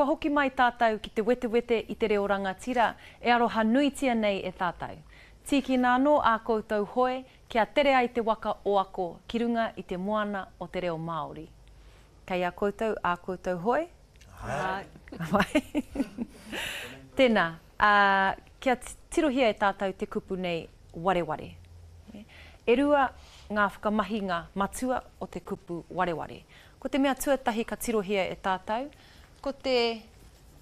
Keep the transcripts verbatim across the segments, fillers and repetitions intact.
Kua hoki mai tātou ki te wetewete i te reo rangatira e aroha nuitia nei e tātou. Tīkina anō ā koutou hoe kia tere ai te waka o ako ki runga i te moana o te reo Māori. Kei a koutou ā koutou hoe? Āe. Tēnā, ā, kia tirohia e tātou te kupu nei wareware. E rua ngā whakamahinga matua o te kupu wareware. Ko te mea tuatahi ka tirohia e tātou, ko te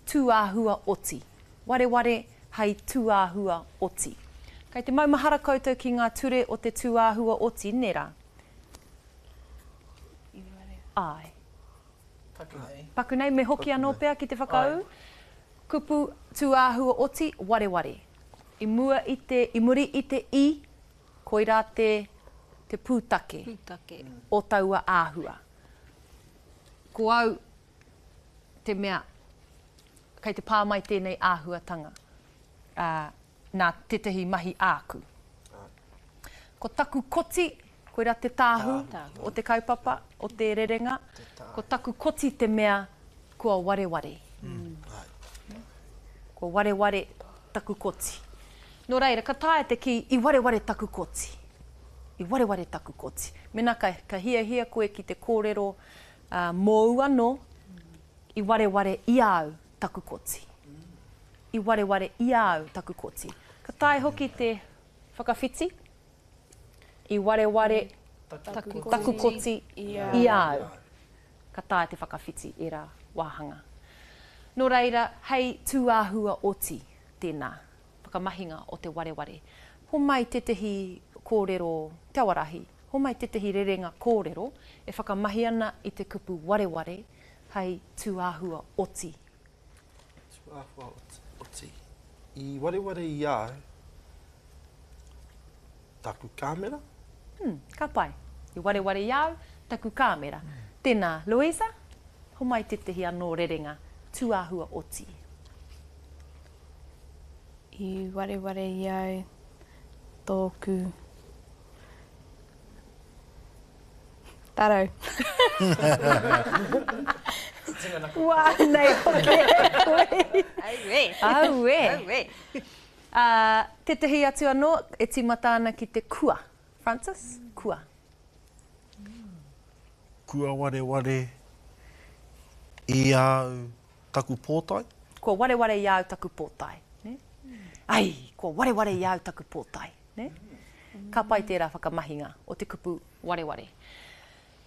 tūāhua oti. Wareware hei tūāhua oti. Kei te maumahara koutou ki ngā ture o te tūāhua oti, nē rā? Āe. Paku nei. Paku nei, me hoki anō pea ki te whakaū. Kupu tūāhua oti, wareware. I mua i te, i muri i te i, koirā te, te pūtake, pūtake. o taua āhua. Ko au te mea kei te pā mai tēnei āhuatanga, ā, nā tētahi mahi āku. Ko taku koti, koirā te tāhū o te kaupapa, o te rerenga, ko taku koti te mea kua wareware. Kua wareware taku koti. Nō reira, ka taea te kī, i wareware taku koti. I wareware taku koti. Mēnā ka, ka hiahia koe ki te kōrero uh, mōu anō, i wareware i a au taku koti. I wareware i a au taku koti. Ka taea hoki te whakawhiti, i wareware Taku taku koti i a au. Ka taea te whakawhiti ērā wāhanga. Nō reira, hei tūāhua oti tēnā whakamahinga o te wareware. Homai tētehi kōrero Te Awarahi, homai tētehi rerenga kōrero e whakamahi ana i te kupu wareware hei tūāhua oti. Tūāhua oti. I wareware i a au taku kāmera? Hmm, ka pai. I wareware i a au taku kāmera. Tēnā, Louisa, homai tētehi anō rerenga tūāhua oti. I wareware i au tōku tarau. Wā nei hoki e koe. Auē. Auē. Auē. Ā, tētehi atu anō e tīmata ana ki te kua. Francis, kua. Kua wareware i a au taku pōtae. Kua wareware i a au taku pōtae. Nē? Ai, kua wareware i a au taku pōtae. Nē? Ka pai tērā whakamahinga o te kupu wareware.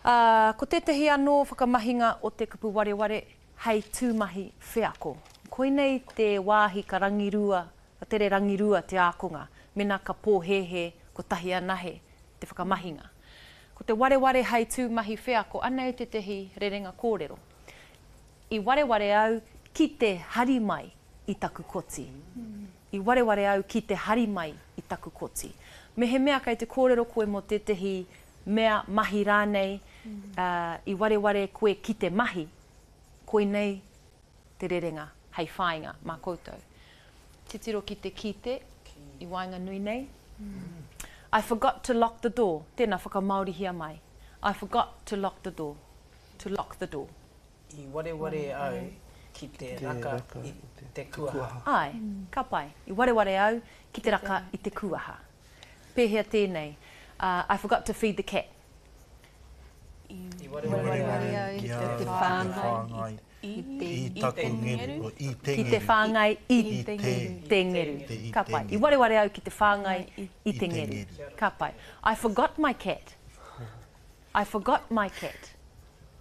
Ā, ko tētehi anō whakamahinga o te kupu wareware hei tūmahi wheako. Koinei te wāhi ka rangirua, ka tere rangirua te ākonga, mēnā ka pōhēhē kotahi anahe te whakamahinga. Ko te wareware hei tūmahi wheako, anei tētehi rerenga kōrero. I wareware au ki te hari mai i taku koti. I wareware au ki te hari mai i taku koti. Mehemea kei te kōrero koe mō tētehi mea mahi rānei, uh, i wareware koe ki te mahi, koinei te rerenga hei whāinga mā koutou. Titiro ki te kite i waenganui nei. I forgot to lock the door. Tēnā, whakamāorihia mai. I forgot to lock the door. To lock the door. I wareware au ki te raka i te kuaha. Āe, ka pai. I wareware au ki te raka i te kuaha. Pēhea tēnei? Uh, I forgot to feed the cat. I wareware au ki ki a te au whāngai i i i taku ngeru, i te Ki te ngeru. whāngai i I te te ngeru. Te i Ka te pai. I ngeru. wareware au ki te whāngai i I te te ngeru. ngeru. Ka pai. I forgot my cat. I forgot my cat.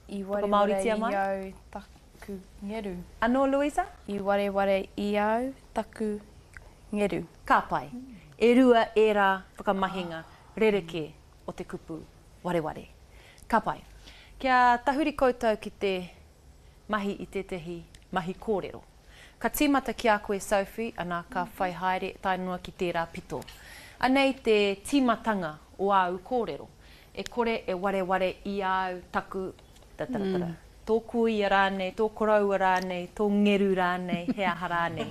I wareware Whakamāoritia i mai. au taku ngeru. Anō, Louisa? I wareware i au taku ngeru. Ka pai. E rua ērā whakamahinga rerekē o te kupu wareware. Ka pai. Kia tahuri koutou ki te mahi i tētehi mahi kōrero. Ka tīmata ki a koe, Sophie, ana ka whai haere tae noa ki tērā pito. Anei te tīmatanga o āu kōrero. E kore e wareware i a au taku ta-ta-ta-ta. Tō kuia rānei, tō koroua rānei, tō ngeru rānei, he aha rānei.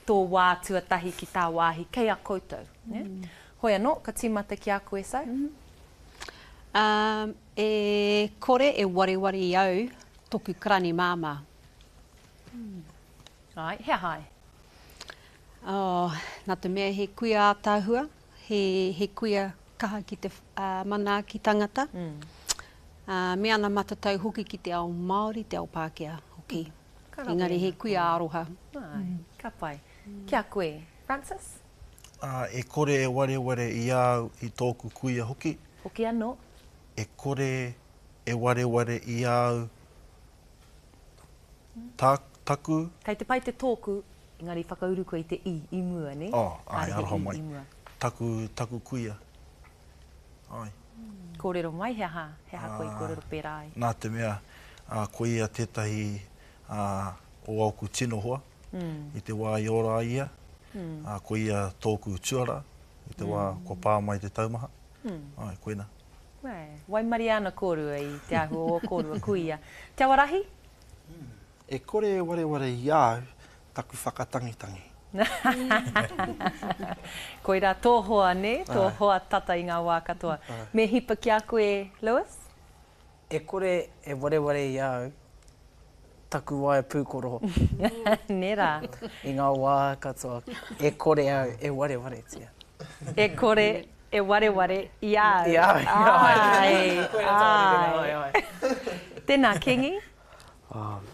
Tō wā tuatahi ki tā wāhi kei a koutou. Ne? Hoi anō, ka tīmata ki a koe, Soph. Um, e kore e wareware i au toku karani māmā. Āe, he aha ai? Oh, nā te mea he kuia ātaahua, he, he kuia kaha ki te uh, manaaki tangata, mm. uh, me ana matatau hoki ki te ao Māori, te ao Pākehā hoki. Mm. Engari he kuia aroha. Ai, mm. Ka pai. Mm. Ki a koe, Francis? Uh, e kore e wareware i au i tōku kuia hoki. Hoki anō. E kore e wareware i au ta, taku. Kei te pai te tōku, engari whakauru koe i te i, i mua, ne? Oh, ai, aroha mai. Taku, taku kuia. Ai. Kōrero mai, he aha, he aha koe i kōrero pērā ai? Nā te mea, uh, ko ia tētahi uh, o ōku tino hoa, mm. i te wā i ora ai ia, mm. uh, ko ia tōku tuara, i te mm. wā kua pā mai te taumaha. Mm. Ai, koina. Wē, waimaria ana kōrua i te āhua o kōrua kuia. Te Awarahi? Mm. E kore e wareware i au taku whakatangitangi. Koirā tō hoa, nē? Tō hoa tata i ngā wā katoa. Me hipa ki a koe, Lewis? E kore e wareware i a au taku waea pūkoro. Nē rā. I ngā wā katoa, e kore au e warewaretia. E kore e wareware i a au. I a au, ai. Ai, ai. Tēnā, Kingi?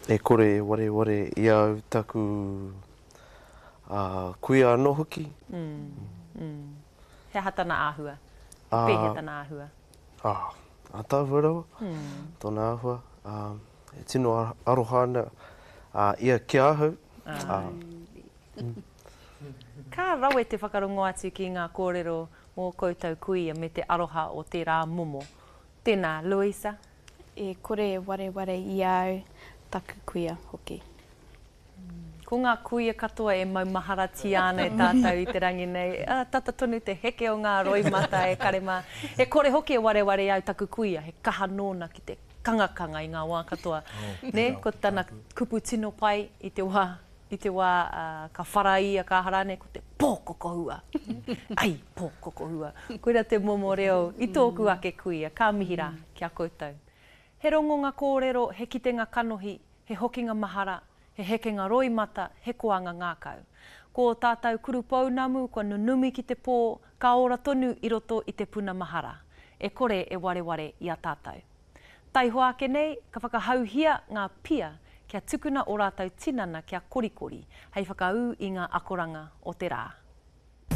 E kore e wareware i a au taku kuia anō hoki. Mm, mm. He aha tana āhua? He pēhea tana āhua? Ah, ātaahua rawa, mm. tōna āhua. Uh, e tino aroha ana uh, ia ki ahau. Ah. Uh, mm. Ka rawe te whakarongo atu ki ngā kōrero mō koutou kuia me te aroha o tērā momo. Tēnā, Louisa? E kore e wareware i a au taku kuia hoki. Ko ngā kuia katoa e maumaharatia ana e tātou i te rangi nei, ah, tata tonu te heke o ngā roimata e kare mā. E kore hoki e wareware au taku kuia, he kaha nōna ki te kangakanga i ngā wā katoa. Oh, ne? Ko tana kupu tino pai i te wā, i te wā uh, ka whara ia, ka aha rānei, ko te pōkokohua. Ai, pōkokohua. Koira te momo reo i tōku ake kuia, ka mihi rā ki a koutou. He rongonga kōrero, he kitenga kanohi, he hokinga mahara, he hekenga roimata, he koanga ngākau. Ko tātou kurupounamu kua nunumi ki te pō, ka ora tonu i roto i te puna mahara. E kore e wareware i a tātou. Taihoa ake nei, ka whakahauhia ngā pia kia tukuna o rātou tinana kia korikori, hei whakaū i ngā akoranga o te rā.